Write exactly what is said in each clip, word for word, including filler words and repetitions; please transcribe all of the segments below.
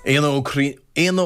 Éanna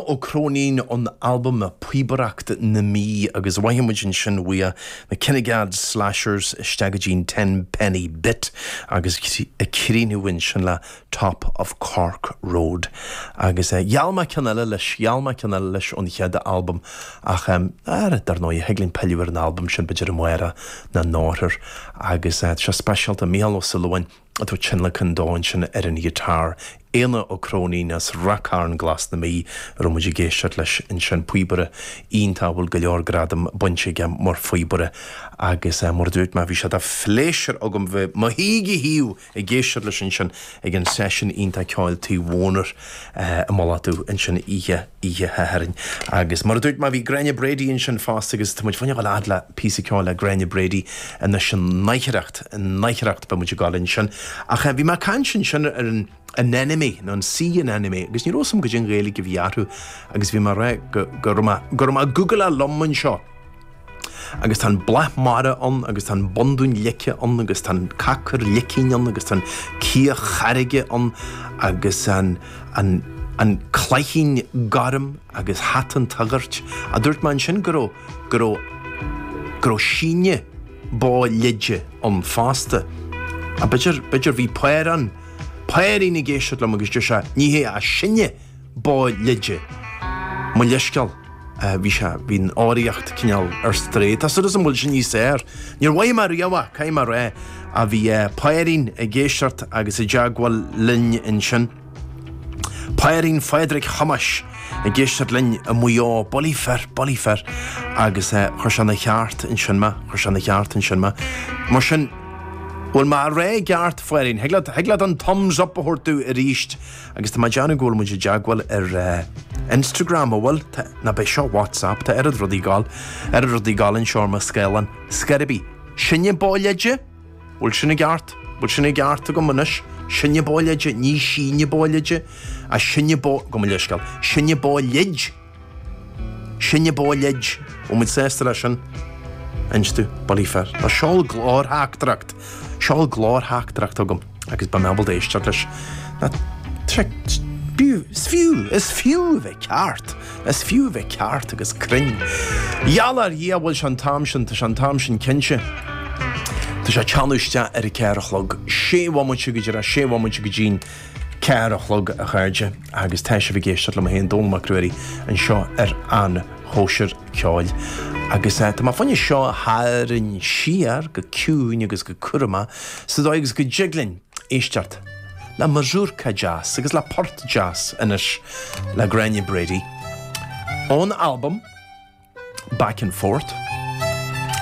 Ó Cróinín ón albam Píobaireacht na Mí agus mhothaigh muid ansin uaidh na Kinnegad Slashers isteach go dtí'n Ten Penny Bit agus ag críochnú ansin le Top of Cork Road. Agus gheall mé ceann eile leis, gheall mé ceann eile leis ón chéad albam ach ar dar ndóigh thig linn pilleadh ar an albam sin b'fhéidir amárach nó amárach agus tá sé speisialta Mícheál Ó Súilleabháin atá tionlacan dó ansin ar an ghiotár. Éanna Ó Cróinín as Ráth Cairn Glas na Mí a raibh muid ag éisteacht leis ansin píobaire iontach a bhfuil go leor gradam bainte aige mar phíobaire agus mar a dúirt mé bhí sé de phléisiúr agam bheith mo shuí go thaobh ag éisteacht leis ansin ag an seisiún iontach ceoil Tigh Mhónair i Mullach Dubh ansin oíche oíche Shathairn. Agus mar a dúirt mé bhí Gráinne Brady ansin fosta agus tá muid fá choinne dul fhad le píosa ceoil le Gráinne Brady anois an oidhreacht an oidhreacht beidh muid ag dul ansin. Ach bhí mé ag caint ansin ar an anemone nó an sea anemone agus ní raibh a fhios agam goidé an Ghaeilge a bhí orthu agus bhí mé ag rá go go raibh mé go raibh mé ag googleáil liom anseo. Agus tá an bláth mara ann agus tá an bundún leice ann agus tá an cacar licín ann agus tá an cíoch charraige ann agus an an an cloichín gorm agus hata an tsagairt. A dúirt mé ansin go raibh go raibh go raibh síne bó leide ann fosta. A b'fhéidir b'fhéidir bhí Paorán Paoirín ag éisteacht liom agus deir sé ní hé a sinne bó leide. Mo leithscéal bhí sé bhí an fhoghraíocht cineál ar strae. Tá súil agam go bhfuil sé níos fearr. Níor mhothaigh mé riamh é, caithfidh mé a rá, a bhí Paoirín ag éisteacht agus i dteagmháil linn ansin. Paoirín Phádraig Thomáis ag éisteacht linn i Maigh Eo, bullaí fir, bullaí fir, agus chuir sé ina cheart ansin mé, chuir sé ina cheart ansin mé. Mar sin, bhfuil mé á rá i gceart, Pháirín? Thig leat, thig leat an thumbs up a thabhairt domh arís agus tá mé ag déanamh go bhfuil muid i dteagmháil ar Instagram, an bhfuil? Tá, ná beidh seo WhatsApp, tá oiread rudaí ag gabháil, oiread rudaí ag gabháil anseo ar mo scáileán. Scor ar bith. Sinne bó leide? Bhfuil sin i gceart? Bhfuil sin i gceart agam anois? Sinne bó leide, ní síne bó leide, a sinne bó, gabh mo leithscéal, sinne bó leid? Sinne bó leid? Bhfuil muid sásta leis sin? Inis domh, bullaí fir. Nó seol glórtheachtaireacht, seol glórtheachtaireacht chugam agus beidh mé ábalta éisteacht leis. Ná, tá sé, b'fhiú, is fiú, is fiú a bheith ceart, is fiú a bheith ceart agus cruinn. Gheall ar Dhia, bhfuil sé an t-am sin, tá sé an t-am sin cinnte. Tá sé ag teannadh isteach ar a ceathair a chlog, sé bhomaite go dtí, sé bhomaite go dtí'n ceathair a chlog, a chairde, agus tá sibh ag éisteacht liom féin, Dónall Mac Ruairí, anseo ar An Chóisir Ceoil. Agus tá mé fá choinne seo a tharraingt siar go ciúin agus go cúramach sa dóigh agus go dtig linn éisteacht le mazurka deas agus le port deas anois le Gráinne Brady ón albam Back and Forth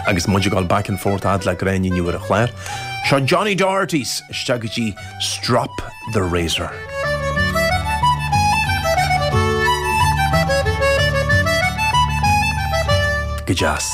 agus muid ag dul back and forth fhad le Gráinne inniu ar an chlár. Seo Johnny Doherty's isteach go dtí Strop the Razor. Go deas.